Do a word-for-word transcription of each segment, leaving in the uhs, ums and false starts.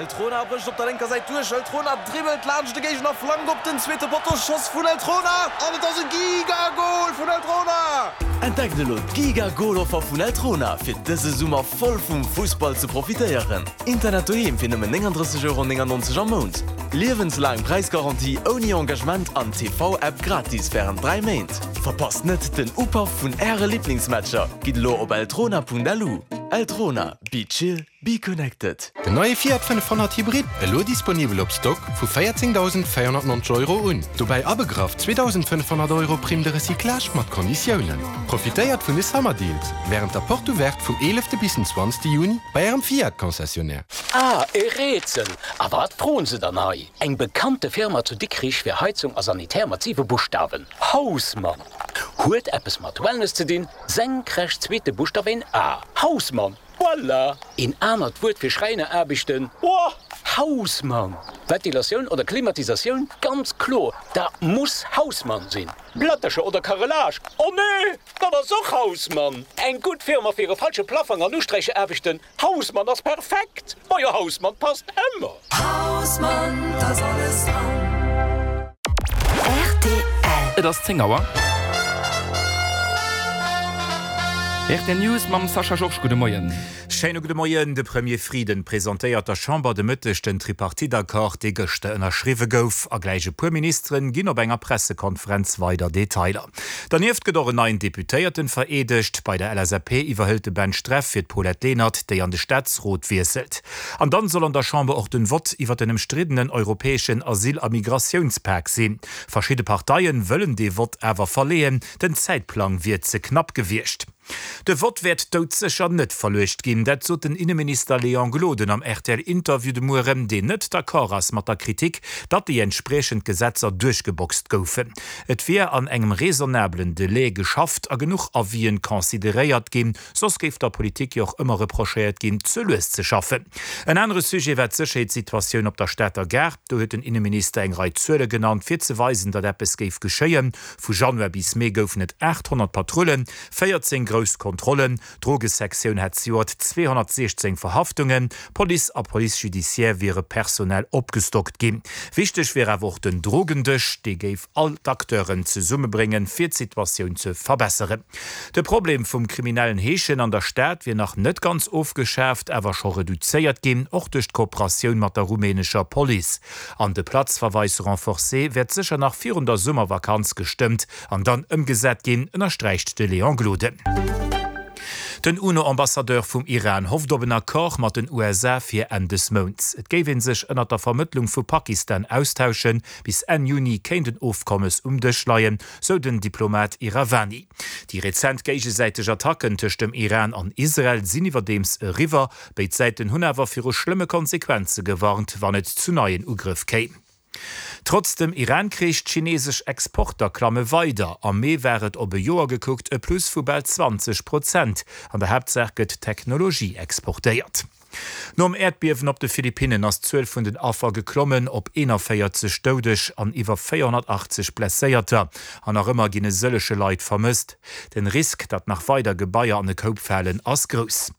Eltrona brécht op der lénker Säit duerch. Eltrona dribbelt laanscht de Géigner, flankt op den zweete Potto. Schoss vun Eltrona an et ass e Giga-Gol vun Eltrona! Entdeckt elo d'Giga-Gol-Offer vun Eltrona fir dëse Summer voll vum Fussball ze profitéieren. Internet doheem fir nëmmen nénganddrësseg Euro néngannonzeg am Mount, liewenslaang Präisgarantie ouni Engagement an T V-App gratis wärend dräi Méint. Verpasst net den Upaff vun Äre Liblingsmatcher! Gitt elo op eltrona Punkt L U. Eltrona, be chill, be connected. Den neie Fiat fënnefhonnert Hybrid, elo disponibel op Stock vu véierzéngdausendvéierhonnertnonzeg Euro un. Dobäi abegraff zweedausendfënnefhonnert Euro Prime de recyclage mat Konditiounen. Profitéiert vun de Summer Deals wärend der Porte Ouverte vum eelefte bis den zwanzegste Juni bei Ärem Fiat Concessionnaire. Ah, e Rätsel! A wat froen se dann hei? Eng bekannte Firma zu Dikrich fir Heizung a Sanitär mat siwe Buschtawen. Hausmann! Huet eppes mat Wellness ze dinn, senkrecht zweete Buschtaf een A. Hausmann! Voilà! Een anert Wuert fir Schräineraarbechten? Boah! Hausmann! Ventilatioun oder Klimatisatioun? Ganz kloer, dat muss Hausmann sinn. Plättercher oder Carrelage? Oh nee! Dat ass och Hausmann! Eng gutt Firma fir e falsche Plaffong an Usträichaarbechten? Hausmann ass perfekt! Ma jo, Hausmann passt ëmmer! Hausmann, da ass alles dran. R T L. Et ass zéng Auer. R T L News mam Sascha Georges. Gudde Moien. Schéine gudde Moien. De Premier Frieden presentéiert der Chamber de Mëtteg den Tripartite-Accord, dee gëschter ënnerschriwwe gouf. A gläich e puer Ministeren ginn op enger Pressekonferenz weider Detailer. Dernieft gëtt och en neien Deputéierten vereedegt. Bei der L S A P iwwerhëlt de Ben Streff fir d'Paulette Lenert, déi an de Staatsrot wiesselt. An dann soll an der Chamber och den Vott iwwer den ëmstriddenen europäeschen Asyl- a Migratiounspak sinn. Verschidde Parteien wëllen de Vott awer verleeën, den Zäitplang wier ze knapp gewiescht. De Vott wäert doudsécher net verluecht ginn, dat sot den Inneminister Léon Gloden am R T L-Interview de Mueren, deen net d'accord ass mat der Kritik, datt déi entspriechend Gesetzer duerchgeboxt goufen. Et wier an engem raisonnablen Delai geschafft a genuch Avisen consideréiert ginn, soss géif der Politik jo och ëmmer reprochéiert ginn, ze lues ze schaffen. En anere Sujet war d'Sécherheetssituatioun op der Stater Gare. Do huet den Inneminister eng Rei Zuele genannt, fir ze weisen, datt eppes géif geschéien. Vu Januar bis Mee goufen et aathonnert Patrullen, véierzéng grouss Kontrollen, d'Drogesektioun hat zejoert zweehonnertsiechzéng Verhaftungen, Police a Police judiciaire wiere personell opgestockt ginn. Wichteg wier awer och den Drogendësch, dee géif all d'Acteuren zesummebréngen, fir d'Situatioun ze verbesseren. De Problem vum kriminellen Heeschen an der Stad wier nach net ganz ofgeschaaft, awer scho reduzéiert ginn, och duerch d'Kooperatioun mat der rumänescher Police. An de Platzverweis renforcé wäert sécher nach virun der Summervakanz gestëmmt an dann ëmgesat ginn, ënnersträicht de Léon Gloden. Den U N O-Ambassadeur vum Iran hofft op en Accord mat den U S A fir Enn des Mounts. Et géif ee sech ënner der Vermëttlung vu Pakistan austauschen, bis Enn Juni kéint en Ofkommes um Dësch leien, sou den Diplomat Iravani. Déi rezent géigesäiteg Attacken tëscht dem Iran an Israel sinn iwwerdeems eriwwer, béid Säiten hunn awer viru schlëmme Konsequenze gewarnt, wann et zu neien Ugrëff kéim. Trotz dem Iran-Krich, d'chineesesch Exporter klamme weider. Am Mee war et op e Joer gekuckt e Plus vu bal zwanzeg Prozent. An der Haaptsaach gëtt Technologie exportéiert. Nom Äerdbiewen op de Philippinnen ass d'Zuel vun den Affer geklommen op eenanvéierzeg Doudeg an iwwer véierhonnertachtzeg Blesséierter. An nach ëmmer ginn e sëllege Leit vermësst. Den Risk, datt nach weider Gebaier an e Koup falen, ass grouss.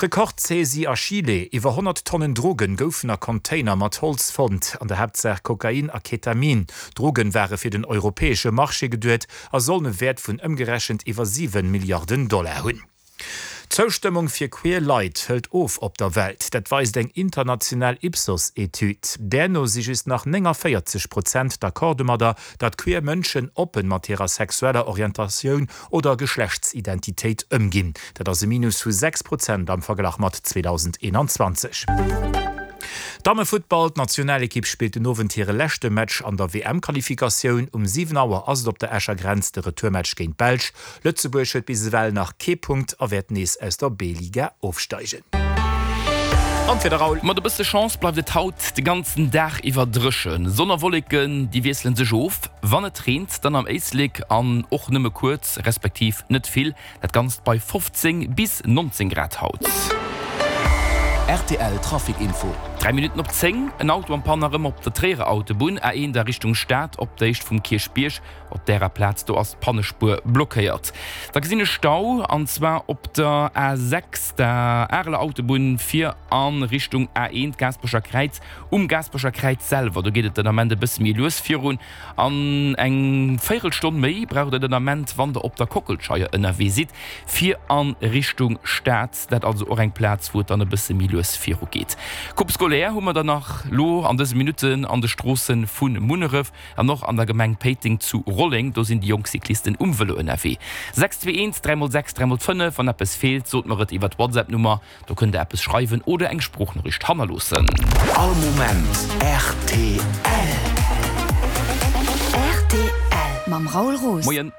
Rekordsaisie a Chile, Iwwer honnert Tonnen Drogen goufen a Container mat Holz fonnt, an der Haaptsaach Kokain a Ketamin. D'Droge ware fir den europäesche Marché geduecht a sollen e Wäert vun ëmgerechent iwwer siwen Milliarden Dollar hunn. D'Zoustëmmung fir queer Leit hëlt of op der Welt, dat weist eng international Ipsos-Etüd. Där no si just nach nénganvéierzeg Prozent d'accord domadder, datt queer Mënschen oppen mat hirer sexueller Orientatioun oder Geschlechtsidentitéit ëmginn. Dat ass e Minus vu sechs Prozent am Verglach mat zweedausendeenanzwanzeg. Dammefuttball, D'Nationalekipp spillt den Owend hire leschte Match an der W M-Qualifikatioun. Um siwen Auer ass et op der Escher Grenz de Retourmatch géint d'Belsch. Lëtzebuerg huet bis ewell nach kee Punkt a wäert nees aus der B-Liga ofsteigen. An d'Wieder, Raoul. Mat e bësse Chance bleift et haut de ganzen Dag iwwer dréchen. Sonn a Wolleken, déi wiessele sech of. Wann et reent, dann am Éislek an och nëmme kuerz, respektiv net vill. Dat Ganzt bei fofzéng bis nonzéng Grad haut. R T L Trafic Info. Dräi Minutten op zéng, En Auto en panne erëm op der Tréierer Autobunn, A eent a Richtung Stad, op der Héicht vum Kierchbierg. Op därer Plaz do ass d'Pannespuer blockéiert. Da gesinn ech Stau, an zwar op der A sechs, der Areler Autobunn, fir a Richtung A eent, Gaasperecher Kräiz. Um Gaasperecher Kräiz selwer, do geet et den Ament e bësse méi lues virun. An eng Véierelstonn méi braucht der den Ament, wann der op der Kockelscheier ënnerwee sidd, fir a Richtung Stad. Dat also och eng Plaz, wou et dann e bësse méi lues viru geet. Coupe scolaire hu mer dann nach lo an dëse Minutten an de Stroosse vu Munneref an och an der Gemeng Péiteng zu Rolleng. Do sinn déi jonk Cyclisten um Vëlo ënnerwee. Sechs zwee eent, dräi mol sechs, dräi mol fënnef. Wann eppes feelt, sot mer et iwwer d'WhatsApp-Nummer. Do kënnt der eppes schreiwen oder eng Sproochnoriicht hannerloossen. All Moment rtl. Rtl mam Raoul Roos. Moien.